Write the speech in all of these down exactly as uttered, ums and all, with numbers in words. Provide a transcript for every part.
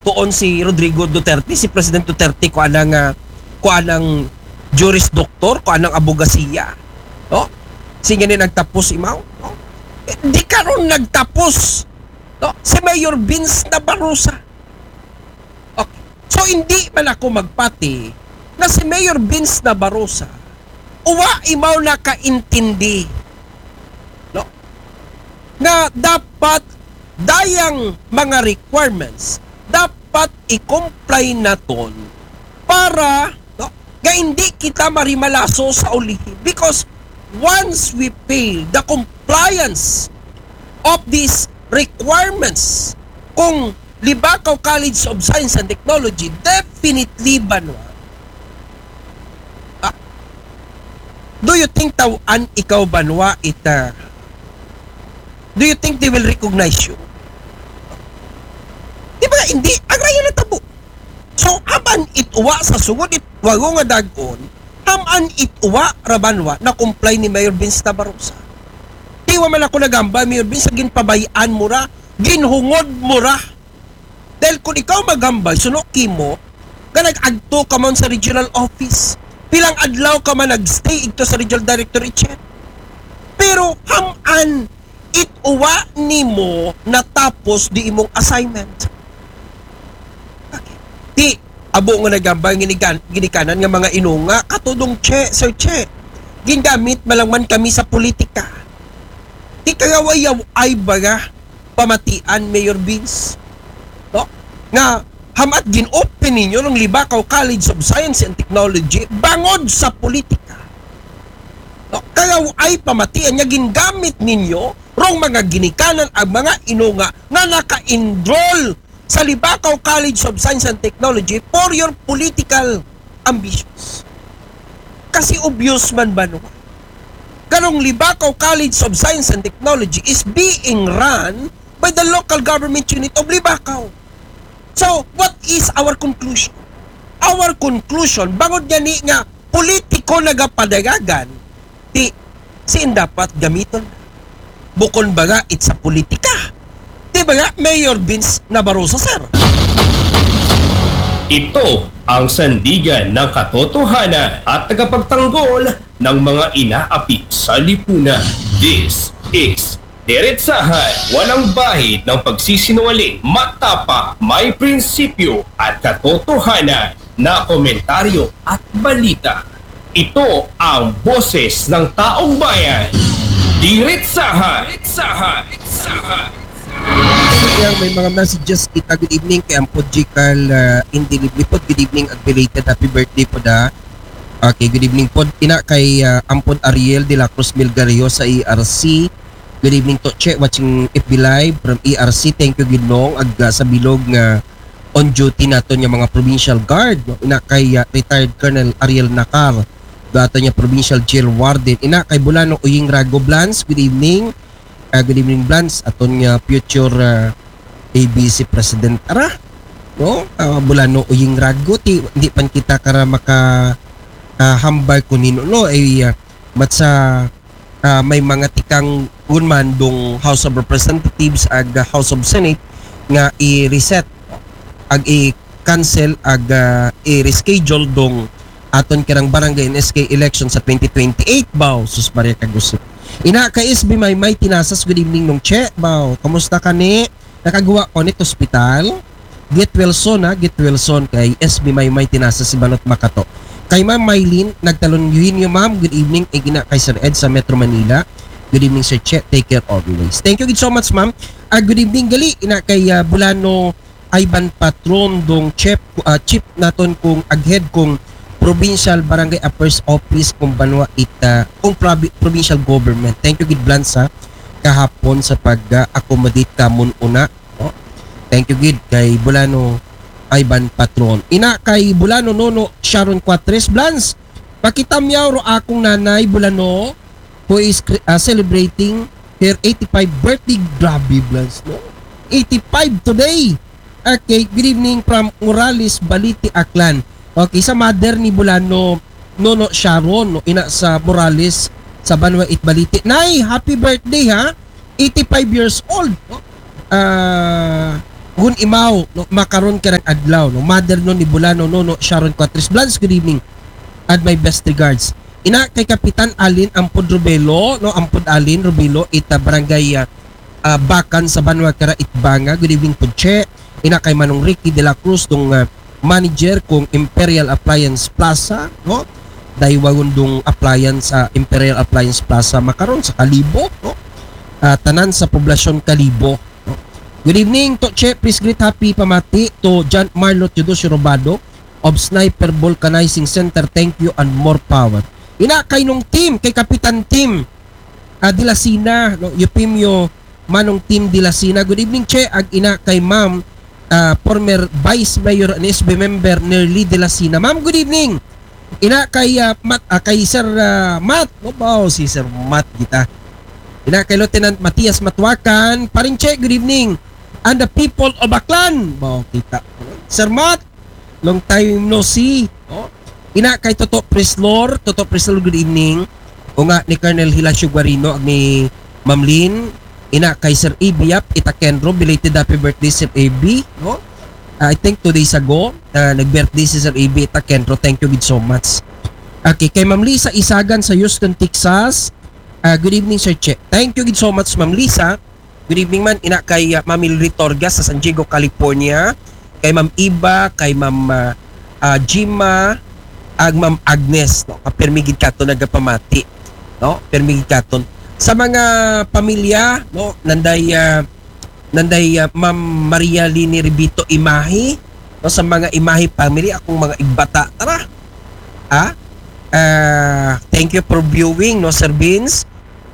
tuon si Rodrigo Duterte, si President Duterte, kuan nga, kuan nga Juris Doctor, kuan nga abogasiya. No? Sige ni nagtapos imaw. No? Eh, di karon nagtapos. No? Si Mayor Vince Nabarosa. Okay. So, hindi man ako magpati na si Mayor Vince Nabarosa, uwa imaw nakaintindi. No? Nga dapat dayang mga requirements, dapat i-comply naton para, no, nga hindi kita marimalaso sa ulihi. Because once we fail the compliance of these requirements, kung Libacao College of Science and Technology, definitely, Banwa. Ah, do you think tawan ikaw, Banwa, ita? Do you think they will recognize you? Di ba, hindi. Ang raya na tabo. So, haman it uwa sa sugod it wago nga dagon, haman it uwa ra, Banwa, na comply ni Mayor Vince Nabarosa. Di wa man ako nagamba, Mayor Vince, sa ginpabayan mo ra, ginhungod mo ra. Dahil kung ikaw magambay, suno kimo, nga nag-agto ka man sa regional office. Pilang adlaw ka man nag-stay igto sa regional director, Chen. Pero haman it uwa nimo natapos di imong assignment. Di, abo nga nagambay ginigan-, ginikanan nga mga inunga, katudong Che, Sir Che. Gingamit man lang man kami sa politika. Di kagaway-away ba nga pamatian, Mayor Vince? No? Nga hamat gin-open ninyo ng Libacao College of Science and Technology bangod sa politika. No? Kagaway pamatian nga gingamit ninyo rong mga ginikanan ang mga inunga nga naka-enroll sa Libacao College of Science and Technology for your political ambitions. Kasi obvious man, Banwa, karong Libacao College of Science and Technology is being run by the local government unit of Libacao. So, what is our conclusion? Our conclusion, bangod gani nga politiko nagapadagagan, di, siin dapat gamiton? Bukon ba nga it sa politika? Di ba nga, Mayor Vince Nabarosa, sir? Ito ang sandigan ng katotohanan at tagapagtanggol ng mga inaapi sa lipunan. This is Diretsahan, walang bahid ng pagsisinungaling, matapang, may prinsipyo at katotohanan na komentaryo at balita. Ito ang boses ng taong bayan. Diretsahan! Diretsahan! Diretsahan! Yang may mga messages kita. Good evening kay Ampod Jikal, uh, Indilibli pod. Good evening, ag belated happy birthday pod, ah. Okay, good evening pod. Ina kay, uh, Ampod Ariel de la Cruz Milgario sa E R C. Good evening to Che, watching F B Live from E R C. Thank you, Ginong. Ag, uh, sa bilog nga on duty naton nga mga provincial guard, no? Ina kay, uh, retired Colonel Ariel Nakar, aton nga provincial jail warden. Ina kay Bulano Uying Rago Blans, good evening. Ah, good evening, Blans. Aton nga future, ah, A B C president. Ara, no? Ah, Bulano Uying Rago, ti, hindi pan kita kara maka, ah, hambal kun hino, no? Ay, ah, mat sa, ah, may mga tikang gunman dong House of Representatives ag, ah, House of Senate nga i-reset ag i-cancel ag, ah, i-reschedule dong aton kirang barangay and S K election sa twenty twenty-eight, baw. Sus Maria, kagusip. Ina kay S B Maymay Tinasas, good evening, Nong Che, baw. Kamusta ka ni? Nakagawa ko nit hospital? Get well soon, ha? Get well soon kay S B Maymay Tinasas, Sibanot, Makato. Kay Ma'am Mylene Nagtalon Eugenio, ma'am, good evening. Ig ina kay Sir Ed sa Metro Manila. Good evening, Sir Che. Take care always. Thank you gid so much, ma'am. Ah, good evening gali, ina kay, ah, Bulano Ivan Patron, dong chief, ah, chief naton kung aghead kung Provincial Barangay Affairs Office kung banwa it, ah, kung provi-, provincial government. Thank you gid, Blans, ha, kahapon sa pag, ah, accommodate kamon una, no? Thank you gid kay Bulano Ivan Patron. Ina kay Bulano Nono Sharon Cuatres, Blans, pakitamyaw ro akong nanay Bulano who is cre-, ah, celebrating her eighty-five birthday. Grabe, Blans, no? Eighty-five today. Okay, good evening from Morales, Balite, Aklan. Okay, sa mother ni Bulano, Nono Sharon, no, ina sa Morales, sa Banwa it Balite. Nay, happy birthday, ha? Eighty-five years old, no? Ah, Gun Imaw, no, makaron karang adlaw, no, mother no ni Bulano, no, no, Sharon Cuatres Blans, good evening. And my best regards. Ina kay Kapitan Alin Ampod Rubelo, no, Ampod Alin Rubelo, ita barangay, ah, ah, Bakan sa Banwa kara Itbanga. Good evening po, Che. Ina kay Manong Ricky de la Cruz, dong, ah, manager kong Imperial Appliance Plaza, no? Daywagon dong appliance, ah, Imperial Appliance Plaza, makaron sa Kalibo, no? Ah, tanan sa poblasyon Kalibo, no? Good evening, to Che. Please greet happy pamati to John Marlo Teodosio Robado of Sniper Vulcanizing Center. Thank you and more power. Ina kay nong team, kay Kapitan Team, ah, Dilasina, no? Eufemio Manong Team Dilasina. Good evening, Che. Ag ina kay Ma'am, ah, former Vice Mayor and S B member Nerly Dilasina. Ma'am, good evening. Ina kay, ah, Mat, ah, kay Sir, ah, Mat. No, bao, si Sir Mat kita. Ina kay Lieutenant Matias Matuakan. Paring Che, good evening. And the people of Aklan. Bao, kita. Sir Mat, long time no see. No? Ina kay Toto Preslor. Toto Preslor, good evening. O nga ni Colonel Hilacio Guarino, ag ni Ma'am Lynn. Ina kay Sir A B Yap, ita Kendro, belated happy birthday, Sir A B, no? Ah, I think two days ago, ah, nag-birthday si Sir A B, ita Kendro. Thank you gid so much. Okay, kay Ma'am Lisa Isagan sa Houston, Texas. Ah, good evening, Sir Che. Thank you gid so much, Ma'am Lisa. Good evening man, ina kay, ah, Ma'am Mildred Torgas sa San Diego, California. Kay Ma'am Iba, kay Ma'am, ah, ah, Jima, ag Ma'am Agnes, no? Kapirmi gid katon nagapamati, no? Pirmi gid katon. Sa mga pamilya, no? Nanday, ah, nanday, ah, Ma'am Maria Lini Ribito Imahi, no? Sa mga Imahi family, akong mga igbata, tara. Ha? Ah, thank you for viewing, no, Sir Vince?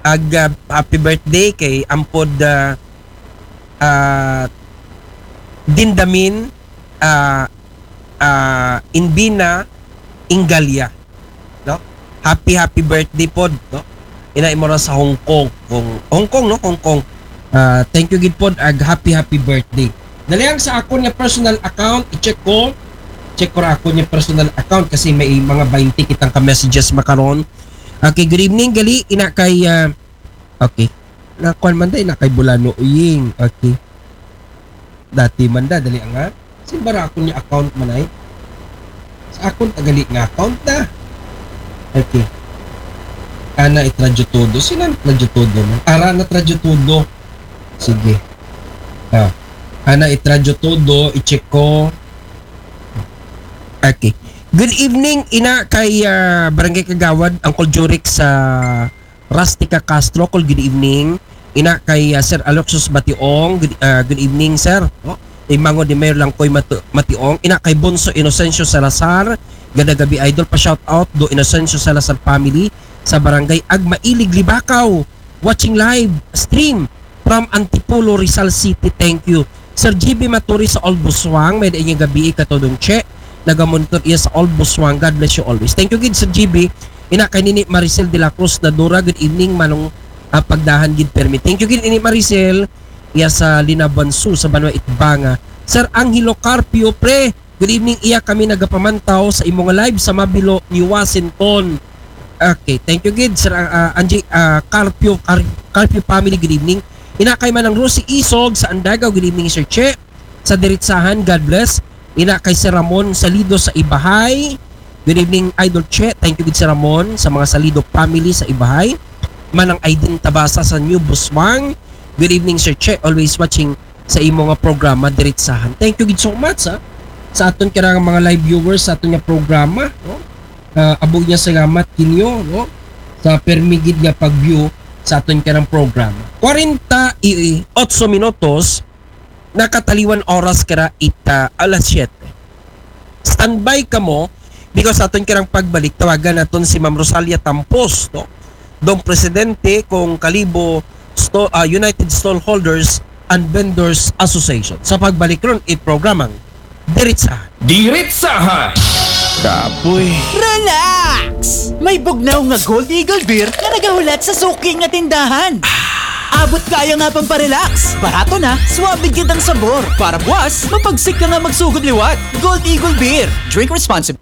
Ag, ah, happy birthday kay Ampod, ah, ah, Dindamin, ah, ah, Inbina Ingalia, no? Happy, happy birthday pod, no? Ina imora sa Hong Kong. Hong, Hong Kong, no? Hong Kong. Ah, thank you gid pod ag happy, happy birthday. Dali ang sa akon nga personal account, i-check ko. Check ko ra akon nga personal account kasi may mga twenty kitang ka-messages makaron. Okay, good evening, gali, ina kay, ah, okay. Nakuan man day, na kay Bulano Uying. Okay. Dati man da, dali nga. Sin bara akon nga account man ay. Sa akon tagali nga account na. Okay. Ana it Radyo Todo. Sino ang Radyo Todo, no? Ara na Radyo Todo. Sige. Ah. Ana it Radyo Todo, i-check ko. Okay. Good evening, ina kay, ah, Barangay Kagawad, Uncle Jurix sa Rustica Castro, call, good evening. Ina kay, ah, Sir Aloxius Bationg, good, ah, good evening, sir. No? Imango di Mayor Langkoy Matu-, Mationg. Ina kay Bonso Inocencio Salazar, gada gabi idol, pa shout out do Inocencio Salazar family sa barangay Agmailig, Libacao. Watching live stream from Antipolo, Rizal City. Thank you. Sir G B Maturi sa Old Busuang, may-ada inyong gabi, katodong Che. Nagamonitor iya sa Old Busuang. God bless you always. Thank you gid, Sir G B. Ina kay Nini Maricel de la Cruz Nadura, good evening, manong, ah, pagdahan gid permi. Thank you gid, Nini Maricel. Iya sa Linabansu, sa Banwa Itbanga. Sir Angelo Carpio, pre, good evening. Iya kami nagapamantaw sa imo nga live sa Mabilo, New Washington. Okay, thank you gid, Sir, ah, ah, Angie, ah, Carpio, Car-, Carpio family, good evening. Ina kay Manang Rosie Isog sa Andagaw, good evening, Sir Che. Sa Diritsahan, God bless. Ina kay Sir Ramon Salido sa Ibahay. Good evening, Idol Che. Thank you gid, Sir Ramon, sa mga Salido family sa Ibahay. Manang Aiden Tabasa sa New Busuang. Good evening, Sir Che. Always watching sa imo nga programa, Diritsahan. Thank you gid so much, ha, sa aton karang mga live viewers sa aton nga programa, no? Ah, abo nga salamat kinyo, no, sa permi gid nga pag-view sa aton karang programa. Kwarenta y otso minutos, nakataliwan oras kara ita alas siyete. Standby kamo, because sa aton karang pagbalik, tawagan naton si Ma'am Rosalia Tampos, no? Dong presidente kong Kalibo Sto-, ah, United Stallholders and Vendors Association. Sa pagbalik ron, it programang Diritsahan. Diritsahan! Kapoy. Relax! May bugnaw nga Gold Eagle Beer nga nagahulat sa suki nga tindahan. Abot kaya nga pamparelax. Barato na, suabe gid ang sabor. Para buwas, mapagsik ka nga magsugod liwat. Gold Eagle Beer. Drink responsibly.